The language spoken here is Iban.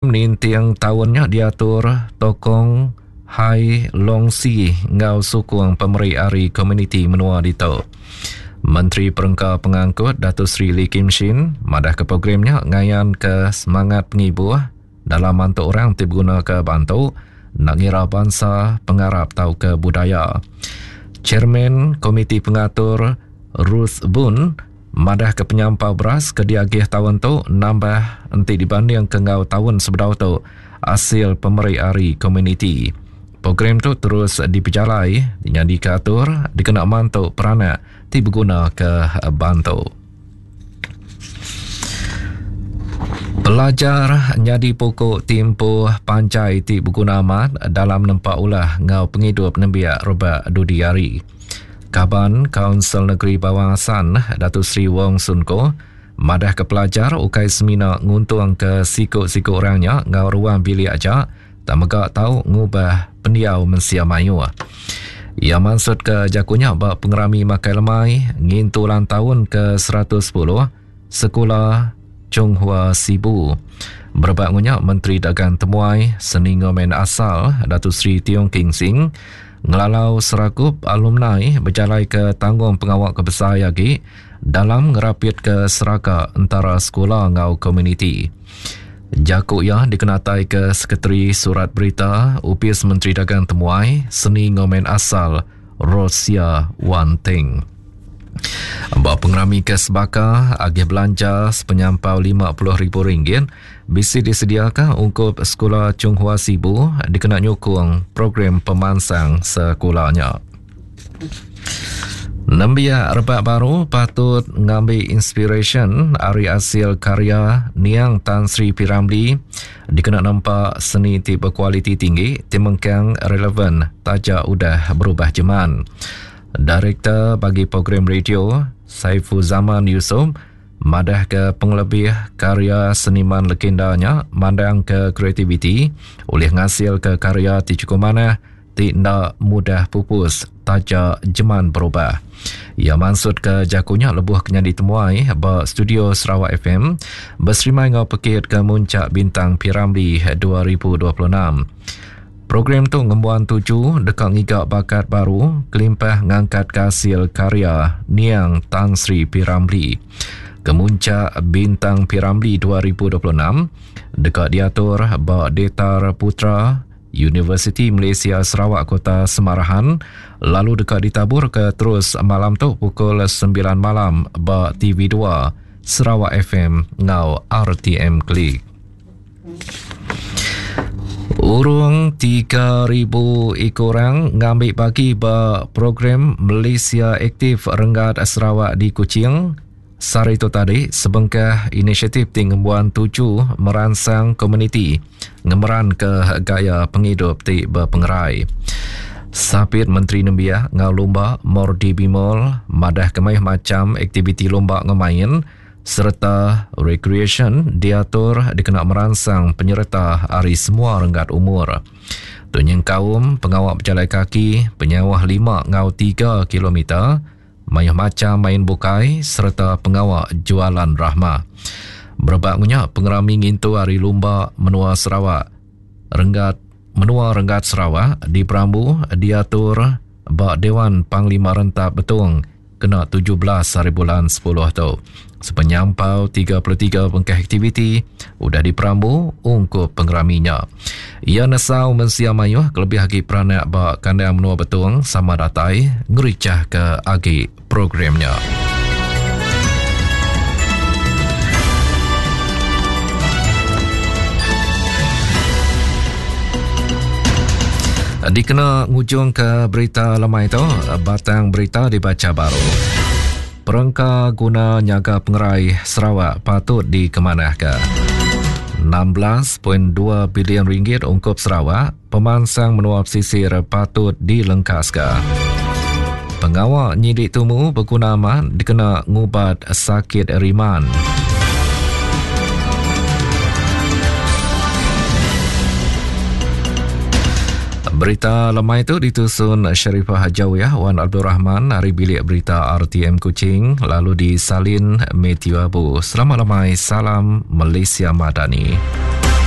ninting taun nya diatur Tokong Hai Long Si enggau sukung pemeri ari komuniti menua ditu. Menteri Perengka Pengangkut Datuk Seri Lee Kim Shin madahka program nya ngayanka semangat pengibuh dalam mantu orang ti begunaka bantu enda ngira bansa, pengarap tauka budaya. Chairman Komiti Pengatur Ruth Boon madahka penyampau beras ke diagih taun tu nambah enti dibandingka enggau taun sebedau tu asil pemeri ari komuniti. Program tu terus dipejalai nyadika atur dikena mantu peranak ti begunaka bantu. Pelajar nyadi puku timpuh panjai ti beguna amat dalam nempa ulah enggau pengidup nembiak rebak dudi hari. Kaban Kaunsil Negeri Bawang Assan, Datuk Seri Wong Soon Koh, madahka pelajar ukai semina nguntungka siku-siku orang nya enggau ruang bilik aja tang mega tau ngubah pendiau mensia mayuh. Iya mansutka jaku nya ba pengerami makai lemai ngintu ulang taun ke 110 Sekula Chung Hua Sibu. Berebak enggau nya, Menteri Dagang Temuai, Seni enggau Main Asal, Datuk Seri Tiong King Sing ngelalau serakup alumni bejalaika tanggungpengawa ke besai agi dalam ngerapitka seraka entara sekula enggau komuniti. Jaku iya dikenataika Sekretari Surat Berita Opis Menteri Dagang Temuai, Seni enggau Main Asal Rosia Wan Ting. Ba pengerami ke sebaka, agih belanja sepenyampau RM50,000 bisi disediaka ungkup Sekula Chung Hua Sibu dikena nyukung program pemansang sekula nya. Nembiak rebak baru patut ngambi inspirasyen ari asil karya niang Tan Sri P. Ramlee dikena nempa seni ti bekualiti tinggi ti mengkang relevan taja udah berubah jeman. Direktor bagi program radio, Saifuzaman Yusof madahka pengelebih karya seniman legenda nya mandangka kreativiti ulih ngasilka karya ti chukup manah ti enda mudah pupus taja jeman berubah. Iya mansutka jaku nya lebuh ke nyadi temuai ba studio Sarawak FM beserimai enggau pekit ke Muncak Bintang P. Ramlee 2026. Program tu ngembuan tuju deka ngiga bakat baru kelimpah ngangkatka asil karya niang Tan Sri P. Ramlee. Kemuncak Bintang P. Ramlee 2026 deka diatur ba Detar Putra Universiti Malaysia Sarawak Kota Semarahan lalu deka ditaburka terus malam tu pukul 9 malam ba TV2, Sarawak FM enggau RTM Klik. Urung 3,000 iku orang ngambi bagi ba program Malaysia Aktif Renggat Sarawak di Kuching Sehari tu tadi, sebengkah inisiatif ti ngembuan tuju meransang komuniti ngemeranka gaya pengidup ti bepengerai. Sapit Menteri Nembiak enggau Lumba Mordi Bimol madahka mayuh macham aktiviti lumba enggau main sereta rekreasyen diatur dikena meransang penyereta ari semua renggat umur. Tu nyengkaum pengawa bejalai kaki penyauh lima enggau tiga kilometer, mayuh macham main bukai sereta pengawa Jualan Rahmah. Berebak ngunya pengerami ngintu Hari Lumba Menua Sarawak renggat Menua Renggat Sarawak diperambu diatur ba Dewan Panglima Rentap Betong kena 17 hari bulan 10 tu. Sepenyampau 33 bengkah aktiviti udah diperambu ungkup pengerami nya. Iya nesau mensia mayuh kelebih agi peranak ba kandang menua Betong sama datai ngerichahka agi program nya. Dikena ngujungka berita lemai tu, batang berita dibacha baru. Perengka guna nyaga pengerai Sarawak patut dikemanahka. 16.2 bilion ringgit ungkup Sarawak, pemansang menua pesisir patut dilengkaska. Pengawa nyidik tumu beguna amat dikena ngubat sakit riman. Berita lemai tu ditusun Sharifah Hajawiyah Wan Abdul Rahman ari Bilik Berita RTM Kuching lalu disalin Matthew Abu. Selamat lemai, salam Malaysia Madani.